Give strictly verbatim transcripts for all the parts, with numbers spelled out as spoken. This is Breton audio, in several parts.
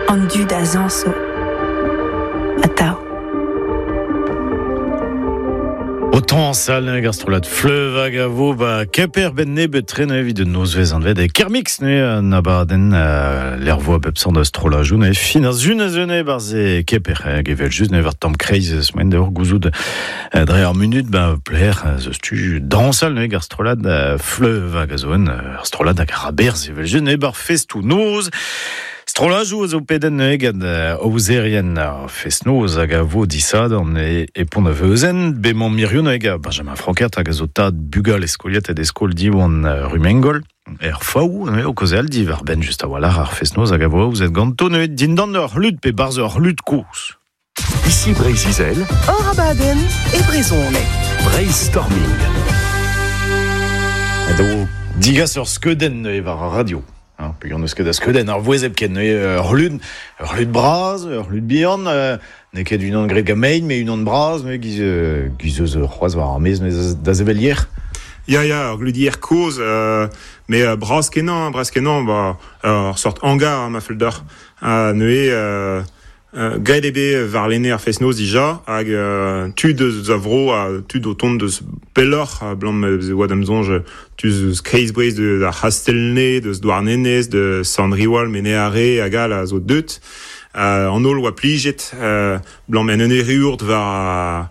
An dud a zañso. Atav. O tañsal neuze ar strollad Fleuve hag a vo ba Kemper ben nebeut tre neuze evit un nozvezh anvet e Kermix neuze an abadenn euh, lec'h vo a bep seurt strollajoù neuze fin ar sun a zeu neuze barzh e Kemper hag evel just neuze war tamm kreiz semaine d'ur gouzout euh, dre ar munut ba pler zeus tu dañsal neuze ar strollad euh, Fleuve hag a zo un ar strollad hag ar aberz evel just neuze bar festoù noz. Strollajoù a zo pedenn neuze gant aozerien ar fest-noz hag a vo disadorn e, e Pont a Veuzen, bemañ Mirion neuze gant Benjamin Frankert hag a zo tad bugal e skoliet ed e skol diwan Rumengol. Er faou, neuze o kaozeal diwar benn just a-walc'h ar fest-noz hag a vo aozet ganto neuze dindan ur c'hlud pe barzh ur c'hlud kozh. Ici Breizh-Izel, Hor abadenn e brezhoneg. Breizhstorming. Edo digas ur skeudenn neuze war ar radio. Hein, peogwir n'eus ket a skeudenn ar vouezh hepken neuze ur c'hlud, ur c'hlud bras, ur c'hlud bihan, euh, n'eo ket unan graet gant mein, met unan bras, neuze giz, euh, giz eus c'hoazh war ar maez neuze da sevel yer. Ya, ya, ur glud yer kozh, euh, met euh, bras kenañ, bras kenañ, ba, ur sort hangar ma fell deoc'h. Ha neuze, euh, euh, graet eo bet warlene ar fest-noz dija, hag euh, tud eus a vro ha tud o tont deus pelloc'h, abalamour ma e oa da'm soñj tud eus Kreiz-Breizh deus ar C'hastell-Nevez, deus Douarnenez, de Sant-Riwal, Mene-Are hag all a zo deut. Euh, an holl oa plijet, euh, abalamour en un erruout war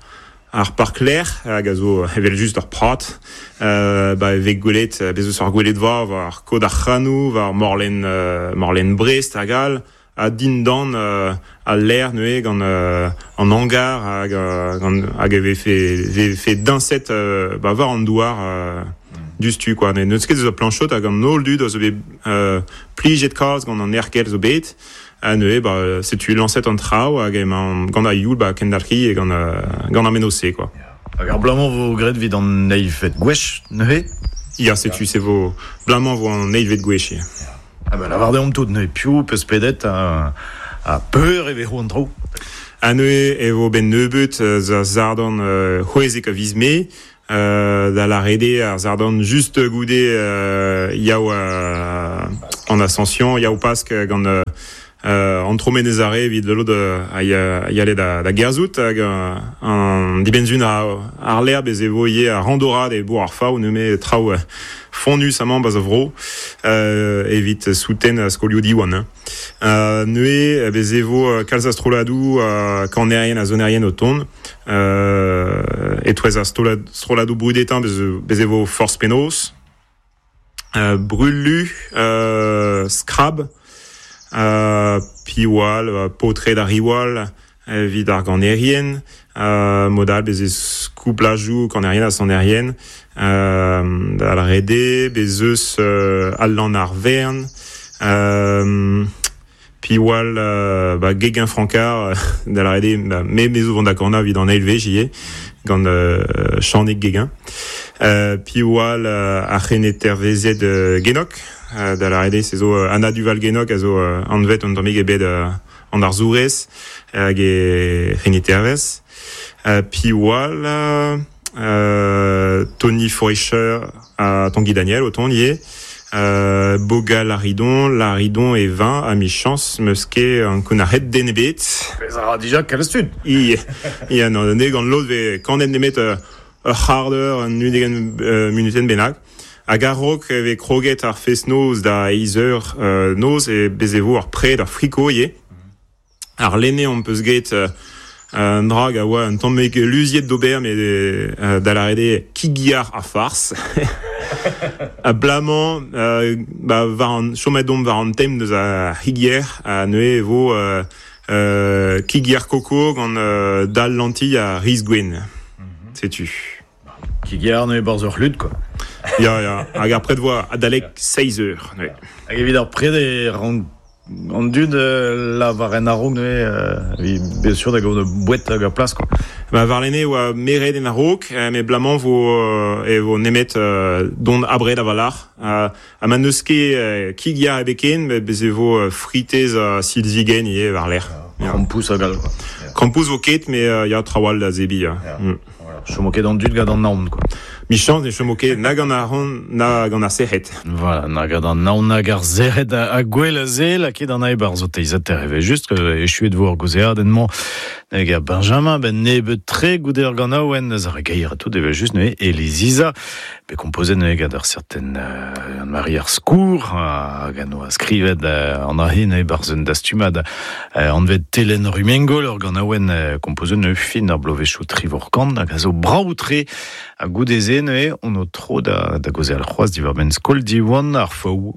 ar parklec'h hag a zo evel just ur prat, euh, ba e vez gwelet, bez eus ar gweledva war kod ar C'hranou, war morlenn, euh, morlenn Brest hag all, ha dindan euh, al lec'h neuze gant euh, an hangar hag, euh, gant, hag e vefe, vefe dañset euh, ba war an douar euh, diouzhtu quoi. Ne n'eus ket eus a planchot hag an holl dud a zo bet euh, plijet kalz gant an ergel zo bet. Ha neuze, ba, setu lañset an traoù hag emañ gant ar youl ba kendalc'hiñ e gant, euh, gant ar mennozh-se quoi. Hag ar bloaz-mañ vo graet evit an eilvet gwech neuze? Ya, setu se vo bloaz-mañ vo an eilvet gwech. Ya. Ah ben lavar deomp tout neuze piv peus pedet ha, ha peur e vezo an traoù. Ha neuze e vo ben nebeut euh, da sadorn euh, c'hwezek a viz Mae, euh, da lâret eo ar sadorn just goude euh, yaou euh, an Ascension, yaou Pask gant euh, euh, an Tro-Menez Are evit lod a ya, yale da, da gerzhout hag euh, an dibenn-sizhun a, ar lec'h bez e vo ivez ar randorad e bourg ar Faou neuze traoù euh, fonnus amañ ba'z a vro euh, evit souten skolioù Diwan. Hein. Euh, neuze bez e vo kalz a strolladoù euh, kanerien ha sonerien o tont euh, e-touez ar strollad, strolladoù brudetañ bez, bez e vo Forzh Penaos, euh, Brulu, euh, Skrab, euh, piv all, euh, Paotred ar Riwal, evit ar ganerien, euh, mod all bez eus kouplajoù kanerien ha sonerien, euh, da lâret eo, bez eus euh, Alan ar Vern, euh, piv all euh, ba, Guéguen Francard, da lâret eo, ba, me me zo vont da ganañ evit an eil wech ivez, gant euh, Chanig Guéguen. Euh, piv all euh, ar c'henitervezed euh, Genok, euh, da lâret eo, se zo euh, Anna Duval Genok a zo euh, anvet an tammig ebet euh, an arzourez hag e c'henitervez. Euh, piv all euh, Tony Forischer ha Tanguy Daniel o tont ivez. Euh, Boga Laridon, Laridon e vin a michañs 'meus ket ankounac'haet den ebet. Pezh a ra dija kalz tud. I, ya, non, ne gant lod vez kanet nemet euh, ur c'hard eur, un ugent euh, munutenn bennak. Hag a-raok e vez kroget ar fest-noz da eizh eur euh, noz e bez e vo ar pred ar friko ivez. Ar lene on peus get euh, un dra hag a oa un tammig luziet d'ober met euh, da lâret eo kig-yar ha farz. Abalamour euh, ba, war an, chomet omp war an tem deus ar c'hig-yer ha neuze e vo euh, euh, kig-yar koko gant euh, dal lentilh ha riz gwenn. Setu. Kig-yar neuze barzh ur c'hlud quoi. Ya, ya, hag ar pred vo adalek seizh eur. Neuze. Hag evit ar pred e rank an dud euh, lavar en a-raok neuze euh, evit bien sûr da gaout boued hag ar plas quoi. Ba, warlene oa meret en a-raok, euh, met bloaz-mañ vo euh, e vo nemet euh, dont abred a-walc'h. Euh, ha ma n'eus ket euh, kig-yar ebet ken, met bez e vo euh, fritez ha silzigenn ivez war-lerc'h. Ya. Krampouz hag all quoi. Krampouz vo ket, met euh, ya traoù all da zebriñ. Ya. Ya. Mm. Voilà. Chomo ket an dud gant an naon quoi. Mi chans ne chomo ket nag an ar na gant ar sec'hed. Voilà, nag an naon nag ar sec'hed a, a gwell a ze, laket an ae bar zo teizater eve just, echuet vo ar gozeadenn-mañ nag a Benjamin, ben nebeut tre goude ar ganaouen, ar gair a tout eve just neuze Eliziza, be komposet neuze gant ur certain euh, Marie ar Skour, hag an oa skrivet euh, an ahe neuze bar zun dastumad euh, anvet Telen Rumengol, ur ganaouen euh, komposet neuze fin ar blovezhioù trivorkant, hag a zo brav-tre a goude ze neuze on o tro da, da gozeal c'hoazh diwar-benn skol Diwan ar faou.